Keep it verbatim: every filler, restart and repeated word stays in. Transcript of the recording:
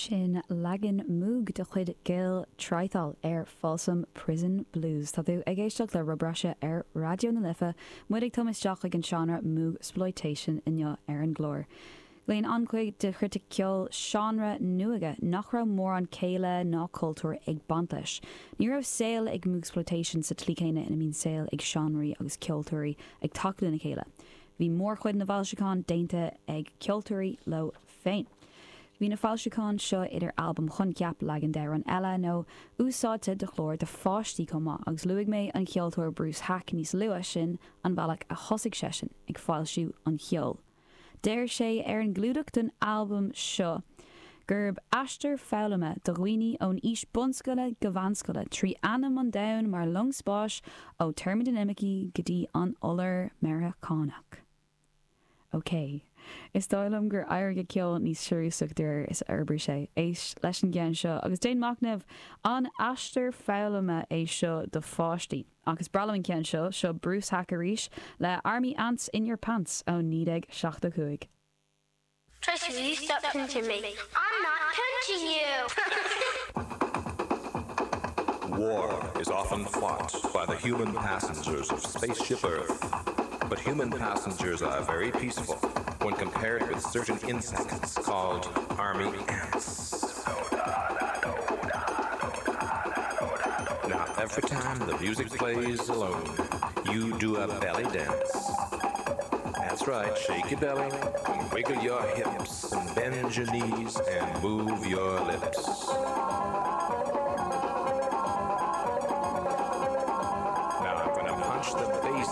Sin leagan Moog de chuid Gil Trythall ar Folsom Prison Blues. Tá tú ag éisteacht le Rob Russia ar Raidió na Life, muid ag tumaisteach ag an seánra Moogsploitation inniu ar an gclár. Glaonn an-chuid de chritic ceoil seánra nuaige nach raibh mórán céille ná cultúr ag baint leis. Ní raibh saol ag Moogsploitation sa tslí chéanna ina mbíonn saol ag seánraí agus ceoltóirí ag tacú lena chéile. Bhí mórchuid na bhfoilseachán déanta ag ceoltóirí leo féin. Bhí na foilseacháin seo idir albam coincheap leagan d'amhrán eile nó úsáidte do chlár do pháistí chomh maith agus luaigh mé an ceoltóir Bruce Haack níos luaithe sin an bealach a thosaigh seisean ag foilsiú an cheoil. Deir sé ar an gclúdach den albam seo gurb aistear foghlama do dhaoine ón aois bunscoile go meánscoile trí anam an domhain mar long spáis ó teirmidinimicí go dtí an iolar Meiriceánach. Ok. Is dóigh liom gur éirigh a ceol níos seiriúsach de is a d'fhorbair sé éist leis an gceann seo agus déan machnamh an aistear foghlama é seo do pháistí. Agus breá liom an ceann seo seo Bruce Haack arís le Army Ants in Your Pants ó naoi déag seachtó cúig. Tracy, will you stop pinching me? I'm not pinching you! War is often fought by the human passengers of Spaceship Earth. But human passengers are very peaceful when compared with certain insects called army ants. Now, every time the music plays alone, you do a belly dance. That's right, shake your belly, and wiggle your hips, and bend your knees, and move your lips.